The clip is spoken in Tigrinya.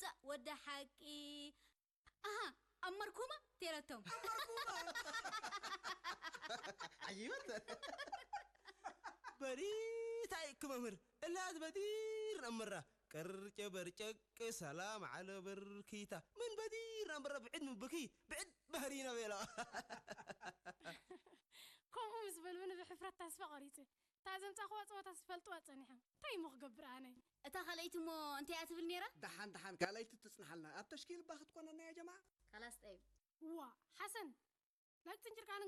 ጻእ ወዲ ሓቂ። ኣሃ፣ ኣብ መርኩማ ተይረቶም። ዓይበት። በሪታ እክ መምህር እላት በዲር ነምራ ቅርጨ በርጨቅ ሰላም ዓለ በርኪታ ምን በዲር ነምራ ብዕድ ምብኪ ብዕድ ባህሪና ቤላ። ከምኡ ምስ በልብኒ ብሕፍረት ተስፋ ቆሪፀ። እታ ዘምፃእኽዋ ፀወታ ዝፈልጥዋ ፀኒሖም እንታይ እሞ ክገብር ኣነ? እታ ካልኣይቲ እሞ እንታይ እያ ትብል ነይራ? ደሓን ደሓን ካልኣይቲ ትጽንሓልና ኣብ ተሽኪል እባ ክትኮነና ያ ጀማዓ። ካላስ ጠይብ። ዋ ሓሰን፣ ላይክ ጥንጭርካንን